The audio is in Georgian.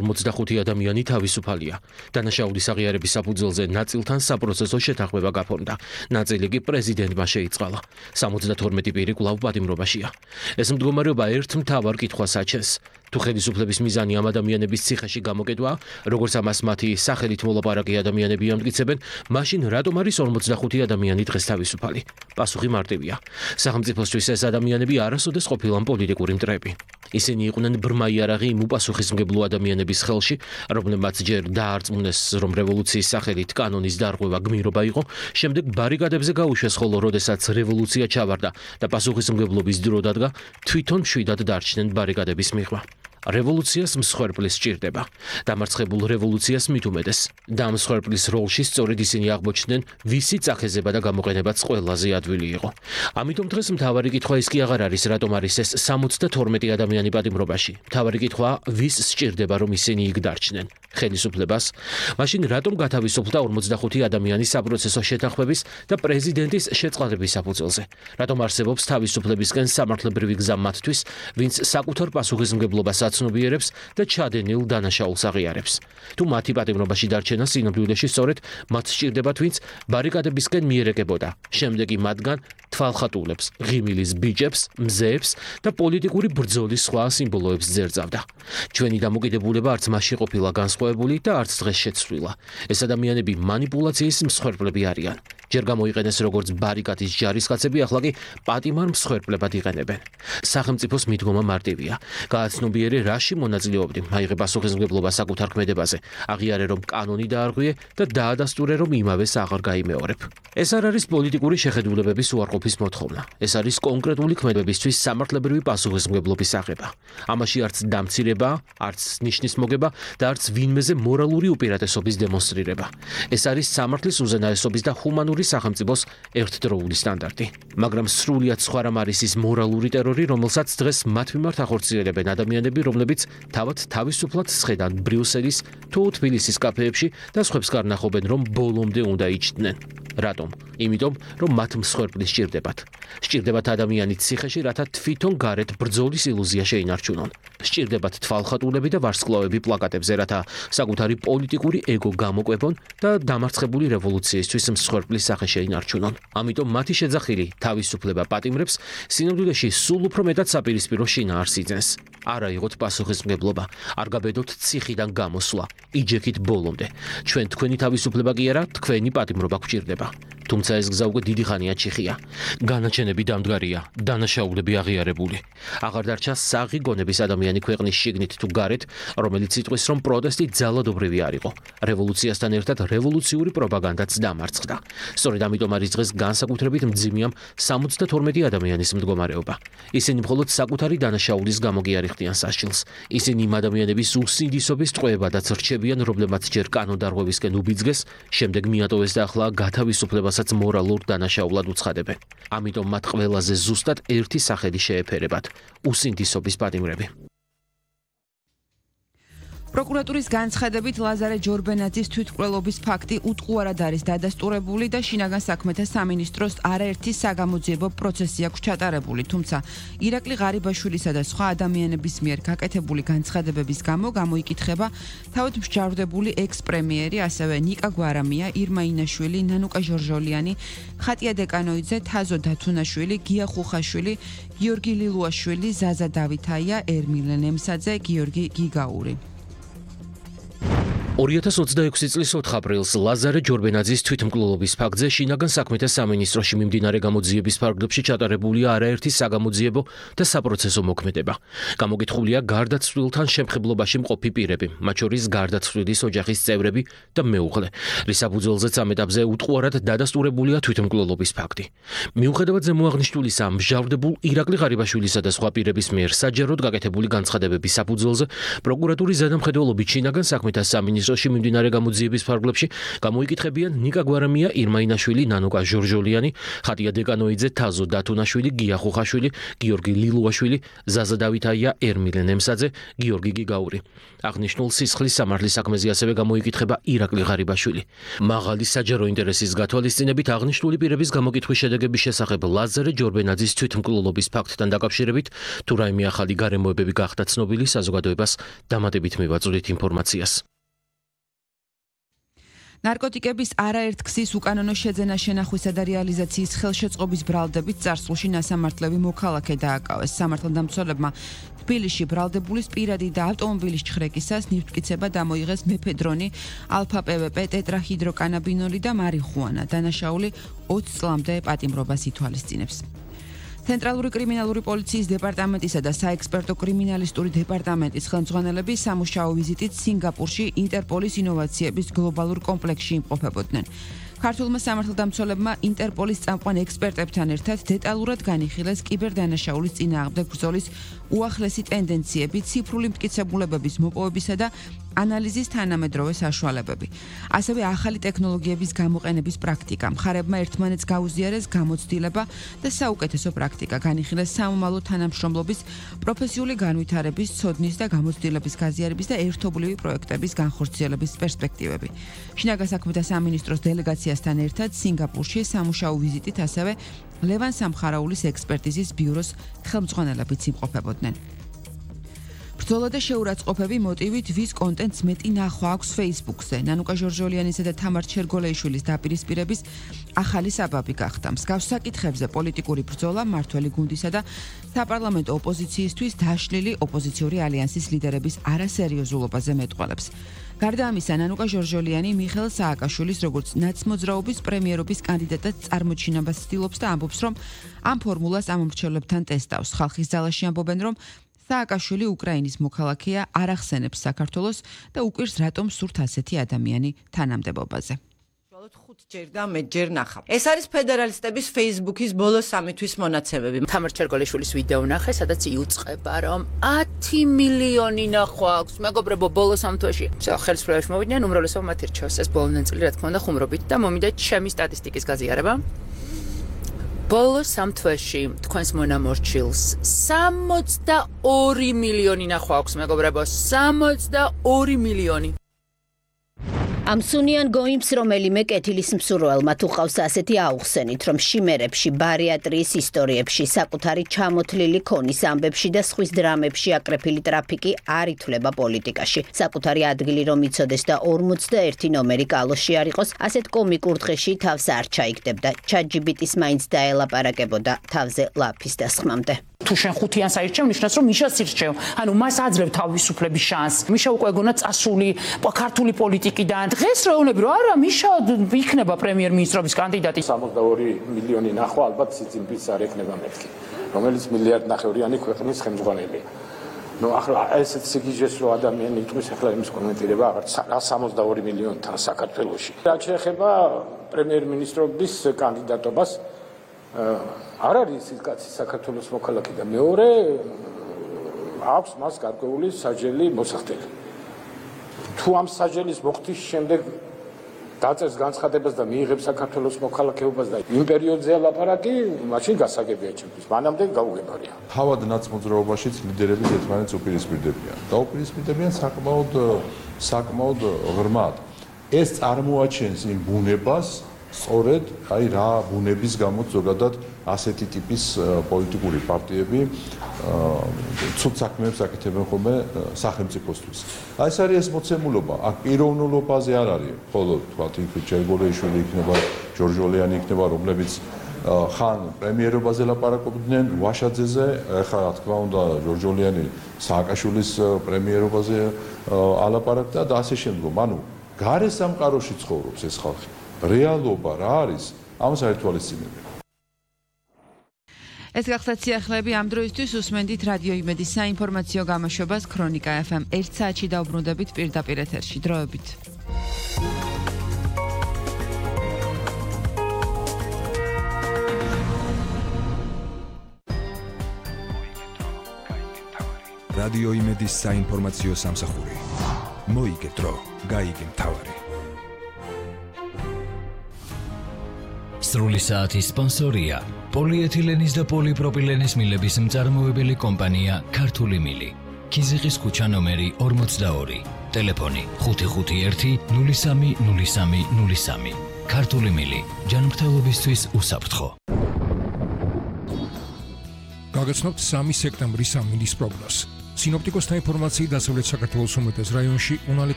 45 ადამიანი თავისუფალია. დანაშაულის აღიარების საფუძველზე ნაწილთან საპროცესო შეთანხმება გაფორმდა. ნაწილი კი პრეზიდენტმა შეიწყალა. 72 პირი კვლავ პატიმრობაშია. ეს მდგომარეობა ერთ მთავარ კითხვას აჩენს. თუ ხელისუფლების მიზანი ამ ადამიანების ციხეში გამოკეტვა, როგორც ამას მათი სახელით მოლაპარაკე ადამიანები ამტკიცებენ, მაშინ რატომ არის 45 ადამიანი დღეს თავისუფალი? პასუხი მარტივია. სახელმწიფოსთვის ეს ადამიანები არასოდეს ყოფილან პოლიტიკური მტრები. ისინი იყვნენ ბრმა იარაღი იმ უპასუხისმგებლო ადამიანების ხელში, რომლებმაც ჯერ დაარწმუნეს, რომ რევოლუციის სახელით კანონის დარღვევა გმირობა იყო, შემდეგ ბარიკადებზე გაუშვეს, ხოლო როდესაც რევოლუცია ჩავარდა და პასუხისმგებლობის დრო დადგა, თვითონ მშვიდად დარჩნენ ბარიკადების მიღმა. რევოლუციას მსხვერპლის სჭირდება. დამარცხებულ რევოლუციას მით უმეტეს. და ამ მსხვერპლის როლში სწორედ ისინი აღმოჩნდნენ, ვისი წახეზება და გამოყენებაც ყველაზე ადვილი იყო. ამიტომ დღეს მთავარი კითხვა ის კი აღარ არის, რატომ არის ეს 72 ადამიანი პატიმრობაში. მთავარი კითხვა, ვის სჭირდება, რომ ისინი იქ დარჩნენ? ხელისუფლებას? მაშინ რატომ გათავისუფლდა 45 ადამიანი საპროცესო შეთანხმების და პრეზიდენტის შეწყალების საფუძველზე? რატომ არსებობს თავისუფლებისკენ სამართლებრივი გზა მათთვის, ვინც საკუთარ პასუხისმგებლობას აცნობიერებს და ჩადენილ დანაშაულს აღიარებს? თუ მათი პატიმრობაში დარჩენა სინამდვილეში სწორედ მათ სჭირდებათ, ვინც ბარიკადებისკენ მიერეკებოდა, შემდეგ კი მათგან თვალხატულებს, ღიმილის ბიჭებს, მზეებს და პოლიტიკური ბრძოლის სხვა სიმბოლოებს ძერძავდა. ჩვენი დამოკიდებულება არც მასში ყოფილა განსხვავებული და არც დღეს შეცვლილა. ეს ადამიანები მანიპულაციის მსხვერპლები არიან. ჯერ გამოიყენეს როგორც ბარიკადის ჯარისკაცები, ახლა კი პატიმარ მსხვერპლებად იყენებენ. სახელმწიფოს მიდგომა მარტივია. გააცნობიერე რაში მონაწილეობდი, აიღე პასუხისმგებლობა საკუთარ ქმედებაზე, აღიარე რომ კანონი დაარღვიე და დაადასტურე რომ იმავეს აღარ გაიმეორებ. ეს არ არის პოლიტიკური შეხედულებების უარყოფის მოთხოვნა. ეს არის კონკრეტული ქმედებისთვის სამართლებრივი პასუხისმგებლობის აღება. ამაში არც დამცირება, არც ნიშნის მოგება და არც ვინმეზე მორალური უპირატესობის დემონსტრირება. ეს არის სამართლის უზენაესობის და ჰუმანური სახელმწიფოს ერთდროული სტანდარტი. მაგრამ სრულიად სხვა რამ არის ის მორალური ტერორი, რომელსაც დღეს მათ მიმართ ახორციელებენ ადამიანები, რომლებიც თავად თავისუფლად სხედან ბრიუსელის თუ თბილისის კაფეებში და სხვებს გარნახობენ, რომ ბოლომდე უნდა იჩდნენ. რატომ? იმიტომ, რომ მათ მსხვერპლი სჭირდებათ. სჭირდებათ ადამიანი ციხეში, რათა თვითონ გარეთ ბრძოლის ილუზია შეინარჩუნონ. სჭირდებათ თვალხატულები და ვარსკვლავები პლაკატებზე, რათა საკუთარი პოლიტიკური ეგო გამოკვებონ და დამარცხებული რევოლუციისთვის მსხვერპლის სახე შეინარჩუნონ. ამიტომ მათი შეძახილი თავისუფლება პატიმრებს სინამდვილეში სულ უფრო მეტად საპირისპირო შინაარს იძენს. არ აიღოთ პასუხისმგებლობა, არ გაბედოთ ციხიდან გამოსვლა, იჯექით ბოლომდე. ჩვენ თქვენი თავისუფლება კი არა, თქვენი პატიმრობა გვჭირდება. თუმცა ეს გზა უკვე დიდი ხანია ჩიხია. განაჩენები დამდგარია, დანაშაულები აღიარებული. აღარ დარჩა საღი გონების ადამიანი ქვეყნის შიგნით თუ გარეთ, რომელიც იტყვის, რომ პროტესტი ძალადობრივი არ იყო. რევოლუციასთან ერთად რევოლუციური პროპაგანდაც დამარცხდა. სწორედ ამიტომ არის დღეს განსაკუთრებით მძიმეა 72 ადამიანის მდგომარეობა. ისინი მხოლოდ საკუთარი დანაშაულის გამო კი არ იხდიან სასჯელს. ისინი იმ ადამიანების უსინდისობის ტყვეებადაც რჩებიან, რომლებმაც ჯერ კანონდარღვევისკენ უბიძგეს, შემდეგ მიატოვეს და ახლა გათავისუფლებას მორალურ დანაშაულად უცხადებენ. ამიტომ მათ ყველაზე ზუსტად ერთი სახელი შეეფერებათ: უსინდისობის პატიმრები. პროკურატურის განცხადებით ლაზარე ჯორბენაძის თვითმკვლელობის ფაქტი უტყუარად არის დადასტურებული და შინაგან საქმეთა სამინისტროს არაერთი საგამოძიებო პროცესი აქვს ჩატარებული, თუმცა ირაკლი ღარიბაშვილისა და სხვა ადამიანების მიერ გაკეთებული განცხადებების გამო გამოიკითხება თავად მსჯავრდებული ექს-პრემიერი, ასევე ნიკა გვარამია, ირმა ინაშვილი, ნანუკა ჟორჟოლიანი, ხატია დეკანოიძე, თაზო დათუნაშვილი, გია ხუხაშვილი, გიორგი ლილუაშვილი, ზაზა დავითაია, ერმილე ნემსაძე, გიორგი გიგაური. 2026 წლის 4 აპრილს ლაზარე ჯორბენაძის თვითმკვლელობის ფაქტზე შინაგან საქმეთა სამინისტროში მიმდინარე გამოძიების ფარგლებში ჩატარებულია არაერთი საგამოძიებო და საპროცესო მოქმედება. გამოკითხულია გარდაცვლილთან შემხებლობაში მყოფი პირები, მათ შორის გარდაცვლილის ოჯახის წევრები და მეუღლე, რის საფუძველზეც ამ ეტაპზე უტყუარად დადასტურებულია თვითმკვლელობის ფაქტი. მიუხედავად ზემოაღნიშნულისა, მსჯავრდებულ ირაკლი ღარიბაშვილისა და სხვა პირების მიერ საჯაროდ გაკეთებული განცხადებების საფუძველზე პროკურატურის ზედამხედველობით შინაგან საქმეთა სამინისტროს ბრიუსელში მიმდინარე გამოძიების ფარგლებში გამოიკითხებიან ნიკა გვარამია, ირმა ინაშვილი, ნანოკა ჟორჟოლიანი, ხატია დეკანოიძე, თაზო დათუნაშვილი, გია ხუხაშვილი, გიორგი ლილუაშვილი, ზაზა დავითაია, ერმილე ნემსაძე, გიორგი გიგაური. აღნიშნულ სისხლის სამართლის საქმეზე ასევე გამოიკითხება ირაკლი ღარიბაშვილი. მაღალი საჯარო ინტერესის გათვალისწინებით აღნიშნული პირების გამოკითხვის შედეგების შესახებ ლაზარე ჯორბენაძის თვითმკვლელობის ფაქტთან დაკავშირებით თუ რაიმე ახალი გარემოებები გახდა ცნობილი, საზოგადოებას დამატებით მივაწვდით ინფორმაციას. ნარკოტიკების არაერთ ქსის უკანონო შეძენა, შენახვისა და რეალიზაციის ხელშეწყობის ბრალდებით წარსულში ნასამართლები მოქალაქე დააკავეს. სამართალდამცველებმა თბილისში ბრალდებულის პირადი და ავტომობილის ჩხრეკისას ნივთმტკიცება დამოიღეს მეფედრონი, ალფა-პვპ, ტეტრაჰიდროკანაბინოლი და მარიხუანა. დანაშაული 20 წლამდე პატიმრობას ითვალისწინებს. ცენტრალური კრიმინალური პოლიციის დეპარტამენტისა და საექსპერტო კრიმინალისტური დეპარტამენტის ხელმძღვანელები სამუშაო ვიზიტით სინგაპურში ინტერპოლის ინოვაციების გლობალურ კომპლექსში იმყოფებოდნენ. ქართულმა სამართალდამცველებმა ინტერპოლის წამყვან ექსპერტებთან ერთად დეტალურად განიხილეს კიბერდანაშაულის წინააღმდეგ ბრძოლის უახლესი ტენდენციები, ციფრული მტკიცებულებების მოპოვებისა და ანალიზის თანამედროვე საშუალებები. ასევე ახალი ტექნოლოგიების გამოყენების პრაქტიკა. მხარებმა ერთმანეთს გაუზიარეს გამოცდილება და საუკეთესო პრაქტიკა, განიხილეს სამომავლო თანამშრომლობის, პროფესიული განვითარების, ცოდნის და გამოცდილების გაზიარების და ერთობლივი პროექტების განხორციელების პერსპექტივები. შინაგან საქმეთა სამინისტროს დელეგაციასთან ერთად სინგაპურში სამუშაო ვიზიტით ასევე ლევან სამხარაულის ექსპერტიზის ბიუროს ხელმძღვანელებიც იმყოფებოდნენ. ბრძოლა და შეურაცხყოფები მოტივით ვის კონტენტს მეტი ნახვა აქვს Facebook-ზე. ნანუკა ჟორჟოლიანისა და თამარ ჩერგოლეიშვილის დაპირისპირების ახალი საბაბი გახდა. მსგავს საკითხებზე პოლიტიკური ბრძოლა მართველი გუნდისა და საპარლამენტო ოპოზიციისთვის დაშლილი ოპოზიციური ალიანსის ლიდერების არასერიოზულობაზე მეტყველებს. გარდა ამისა, ნანუკა ჟორჟოლიანი მიხეილ სააკაშვილის როგორც ნაცმოძრაობის პრემიერობის კანდიდატად წარმოჩინებას ცდილობს და ამბობს, რომ ამ ფორმულას ამომრჩევლებთან ტესტავს. ხალხის ძალაში ამბობენ, რომ სააკაშვილი უკრაინის მოქალაქეა, არ ახსენებს საქართველოს და უკვირს რატომ სურთ ასეთი ადამიანი თანამდებობაზე. 5ჯერ და მეჯერ ნახავ. ეს არის ფედერალისტების Facebook-ის ბოლო 3 თვის მონაცემები. თამარ ჩერგოლეიშვილის ვიდეო ნახე, სადაც იუწყება, რომ 10 მილიონი ნახვა აქვს. მეგობრებო, ბოლო 3 თვეში. ხელისუფლებაში მოვიდნენ, უმრავლესობა მათ ირჩევს ეს ბოლო ნაწილი, რა თქმა უნდა, ხუმრობით და მომიდა ჩემი სტატისტიკის გაზიარება. ბოლო 3 თვეში თქვენს მონამორჩილს 62 მილიონი ნახვა აქვს, მეგობრებო, 62 მილიონი. ამ სუნიან გოიმს რომელიმე კეთილის მსურველმა თუ ყავს ასეთი აუხსენით, რომ შიმერებში, ბარიატრიის ისტორიებში, საკუთარი ჩამოთლილი ქონის ამბებში და სხვის დრამებში აკრეფილი ტრაფიკი არ ითვლება პოლიტიკაში. საკუთარი ადგილი რომ იცოდეს და 41 ნომერი კალოში არ იყოს, ასეთ კომიკურ დღეში თავს არ ჩაიგდებდა. ChatGPT-ს მაინც დაელაპარაკებოდა თავზე ლაფის დასხმამდე. თუ შენ ხუთიანს აირჩევ, ნიშნავს რომ მიშას ირჩევ. ანუ მას აძლევ თავისუფლების შანსს. მიშა უკვე გონა წასული ქართული პოლიტიკიდან. დღეს რაუნები რომ არა, მიშა იქნება პრემიერ-მინისტრობის კანდიდატი. 62 მილიონი ნახვა ალბათ სიციმბის არ ექნება მეთქი, რომელიც მილიარდნახევრიანი ქვეყნის ხელმძღვანელია. ნუ ახლა ესეც სიგიჟეს რო ადამიანი იტყვის ახლა იმის კომენტირება აღარ 62 მილიონთან საქართველოში. რაც შეეხება პრემიერ-მინისტრობის კანდიდატობას, არ არის ის კაცი საქართველოს მოქალაქე და მეორე აქვს მას გარკვეული საჯელი მოსახდელი. თუ ამ საჯელის მოხდის შემდეგ დაწეს განცხადებას და მიიღებს საქართველოს მოქალაქეობას და იმ პერიოდზე ლაპარაკი, მაშინ გასაგებია ჩემთვის. მანამდე გაუგებარია. თავად ნაცმოძრაობაშიც ლიდერები ერთმანეთს უპირისპირდებიან. და უპირისპირდებიან საკმაოდ ღრმად. ეს წარმოაჩენს იმ ბუნებას, სწორედ აი რა ბუნების გამო ზოგადად ასეთი ტიპის პოლიტიკური პარტიები ცუდ საქმეებს აკეთებენ ხოლმე სახელმწიფოსთვის. აი ეს არის ეს მოცემულობა, აქ პიროვნულობაზე არ არის, ხოლო თქვათ იქ ჩერგოლეიშვილი იქნება, ჟორჟოლიანი იქნება, რომლებიც ხან პრემიერობაზე ლაპარაკობდნენ ვაშაძეზე, ახლა რა თქმა უნდა ჟორჟოლიანი სააკაშვილის პრემიერობაზე ალაპარაკდა და ასე შემდგომ. ანუ გარე სამყაროში ცხოვრობს ეს ხალხი. რეალობა რა არის? ამას არ ითვალისწინებენ. ეს გახდა სიახლეები ამ დროისთვის. უსმენდით რადიო იმედის საინფორმაციო გამოშვებას ქრონიკა FM 1 საათში დაუბრუნდებით პირდაპირ ეთერში. დროებით. რადიო იმედის საინფორმაციო სამსახური. მოიგე დრო, გაიგე მთავარი. სრული საათის სპონსორია პოლიეთილენის და პოლიპროპილენის მილების მწარმოებელი კომპანია ქართული მილი. ქიზიყის ქუჩა ნომერი 42. ტელეფონი 551-030303. ქართული მილი. ჯანმრთელობისთვის უსაფრთხო. გაგაცნობთ 3 სექტემბრის სამინის პროგნოზს. სინოპტიკოსთა ინფორმაციით დასავლეთ საქართველოს უმეტეს რაიონში უნალე